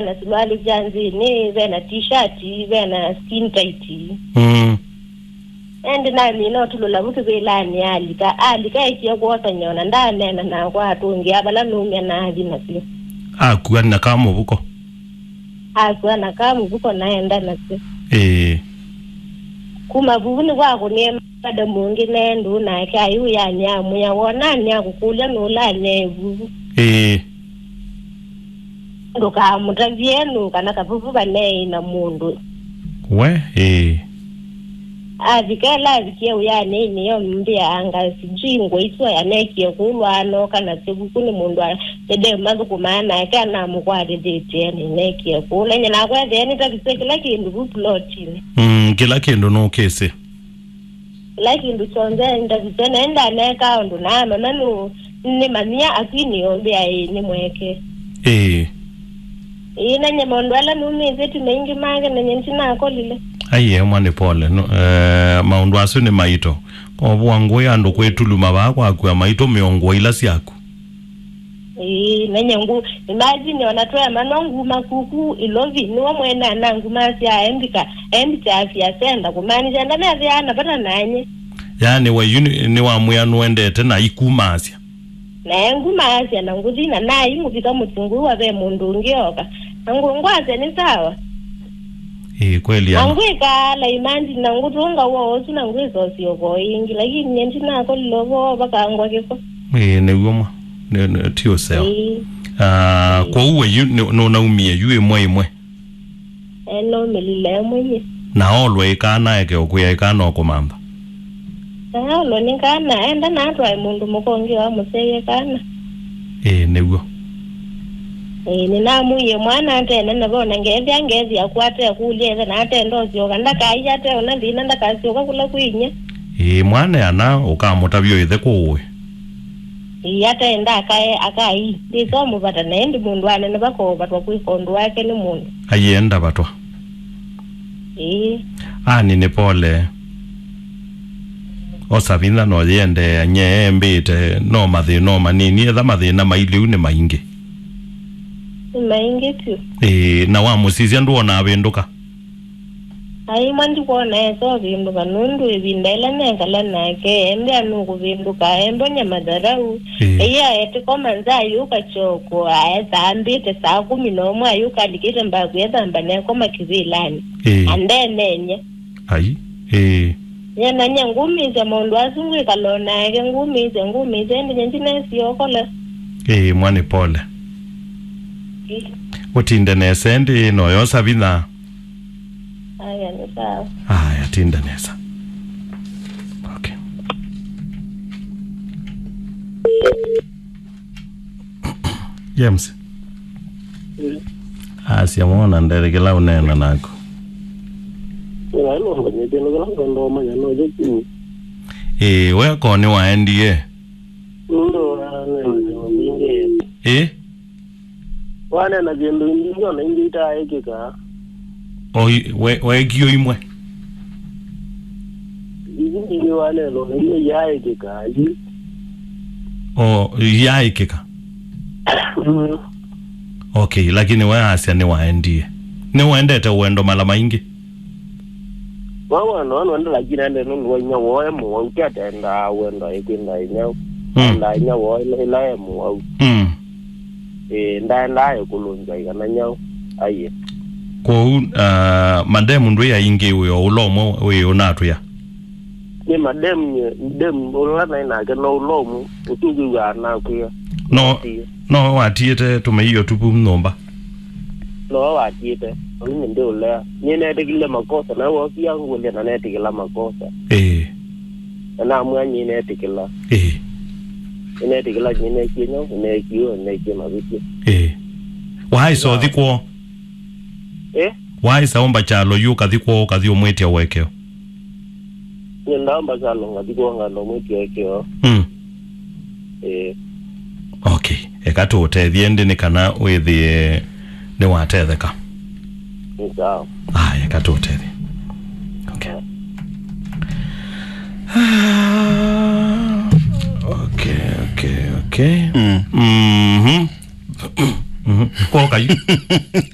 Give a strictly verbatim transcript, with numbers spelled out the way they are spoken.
na silwali sya nzĩnĩ, ve na t-shirt, ve na skin tight. Mm. Ĩndĩ namina ũtulũla vu kĩvĩlanĩ alika. Alika ekie kwosany'a ona ndaneena nakwa atũngĩa vala numya na athi nasyo. Akua na kamũvuko. Akua na kamũvuko naenda nasyo. Ĩĩ. Kuma vuvu nĩkwakũnie madamu ũngĩ ne ndũũ nake aiũyany'a amwĩa, wonany'a kũkũlya nũũlany'a ĩvuvu. Ĩĩ. Ndũkamũtavye nũũ kana kavuvu vaneĩ na mũndũ. We, ĩĩ. Avika ĩla avikie ũyanĩinĩ yo mbĩa anga sijui ngũa isu ayanekie kũlwa anoka nasyo vuku nĩ mũndũ a-, ĩndĩ mathũkũmaa nake anamũkwatĩthĩtye nĩnekie kũla. Nyie nakwa ethĩa nĩtavisye kĩla kĩndũ vu pulotinĩ. Mm, kĩla kĩndũ nũkĩsĩ. Kĩla kĩndũ kyonthe ndavisye, naĩ ndaneekaa ũndũ naamanya nũ-, nĩmanyia akwinĩ yonthe aĩ nĩ mweke. Ĩĩ. Ĩĩ, na nye maũndũ ala numĩtye ti maingĩ make, na nye ndinakolile. Ai, emwa nĩ pole. No, eh, maũndũ asu nĩ maito. Kovua ngũĩ andũ kwĩtuluma vaa kwakua maitũ mĩongo ila syaku. Ĩĩ, na nye ngu-, imagine ona twemanwa nguma kuku Ilovi, nĩwe mwene anangumasya aembika, aembikya afya center, kumaanisha ndamethĩaa na vata nanye. Yaani we yu nĩ, nĩwamwĩa nũendete na ikumasya. Na engumasya na ngũthi na naimũvika mũtingũĩwa ve mũndũ ũngĩ oka. Na ngũ-, ngwasya nĩ sawa. Ĩĩ, kweli na ana. Ngwĩkaala imagine na ngũtũnga woo ũsu na ngwĩsosya ũko ĩngĩ, lakini nye ndinakolile ũvoo vakangwa kĩko. Ĩĩ, nĩw'o mwa. Nĩ, nĩ, ti ũseo. Ĩĩ. Ah, ĩĩ. Kwoou we yu nĩ, nũnaumie yu ĩmwe ĩmwe? Ĩĩ, naumĩlile ĩmwe ĩmwe. Na olwe ĩkana eke ũkwĩa ĩkana ũkũmantha? Na olwe nĩ kana, enda na atwae mũndũ mũka ũngĩ wa mũsyaie kana. Ĩĩ, nĩw'o. Ĩĩ, nĩnamwĩie mwana atene na vona ngethĩa ngethi akwate akũlya ĩthe na atenda ũsyoka, ndakaia ate ona thĩna ndakasyoka kũla kwĩ inyia. Ĩĩ, mwana ana ũkamũtavya ĩthe kũũĩ. Ĩĩ, ataenda akae, akai, ndĩsomũvata, na ĩndĩ mũndũ anene vakoovatwa kwĩka ũndũ wake nĩ mũndũ. Aienda vatwa. Ĩĩ. Ani nĩ pole. Osa vinya no yĩendeea nye embĩte, no mathĩna o manini, etha mathĩna mailĩu nĩ maingĩ. Nĩ maingĩ vyũ. Ĩĩ, na wamũsisya ndwona avĩndũka? Aimwa ndikwona esa ũvĩndũka, nũndũ ĩvinda ĩla nekala nake, embĩa nũkũvĩndũka, embonya matharaũ. Ĩĩ. Ĩĩ aetĩkoma nza ayũka kyoko, aetha ambĩte saa kũmi na ũmwe ayũka alikĩte mbaku ethamba nekoma kĩvĩlanĩ. Ĩĩ. Andenenye. Ai, ĩĩ. Nyie na nyie ngũmĩĩsya maũndũ asu ngwĩkala o nake, ngũmĩĩsya, ngũmĩĩsya, ĩndĩ nyie ndinesie okola. Ĩĩ, mwa nĩ pole. Ĩĩ. Ũtinde nesa ĩndĩ noyosa vinya. Aya, nĩ sawa. Aya, tinda nesa. Okay. James. Mm. Asya mwana ndere kĩla ũneena naku. Ĩla nũmbanyĩtye nĩ kĩla ndondo manya no jeki. Ĩĩ, we ko nĩ waendie? Nũndũ wa nene mbingĩ. Ĩĩ? Waneena kĩndũ ingĩ ona ingĩ itaaĩkĩka. O i-, we-, weekie o imwe? Isu ingĩ waneena ona imwe iyaaĩkĩka, yu. O, iyaaĩkĩka? Mm. Okay, lakini we asya nĩwaendie. Nĩwendete ũendo mala maingĩ? Wa wendo, wa wendo, lakini ende nũndũ wa inya woo e mũwau, ti atendaa wendo ĩkwenda inyau. Mm. Endaa inya woo ĩla, ĩla e mũwau. Mm. Ĩĩ, ndaendaa ĩkũlũngya ĩkana nyau. Aiye. Kwoou, ah, mademu ndwĩ aingĩ wĩ o ũla ũmwe wĩ ũnatwĩa? Nĩ mademu, nye, demu ũla naĩ nake no ũla ũmwe, ũsu ũkwĩw'aa nakwĩa. No, Tiĩ. No watiĩte tũmĩio tupu nyũmba? No watiĩte, ũu nĩ ndĩũlea. Nĩnetĩkĩlile makosa, na wosia ngũlya na netĩkĩla makosa. Ĩĩ. Na namwĩa nyie netĩkĩla. Ĩĩ. Nĩnetĩkĩla nyie nekie nyau, nekie, nekie mavĩtyo. Ĩĩ. Waĩsa ũthi kwoo? Eh? Waĩsa ũmba kyalo yu ũkathi kwoo, ũkathi ũmwĩtya ũekeo? Nĩndaomba kyalo ngathi kwoo, nganda ũmwĩtya ũekeo. Mm. Eh. Okay. Eka tũũtethye ĩndĩ nĩ kana wĩthĩe nĩwatetheka. Nĩ sawa. Aya, eka tũũtethye. Okay. Okay, okay, okay. Mm. Mhm. Mhm. Kwoka yu.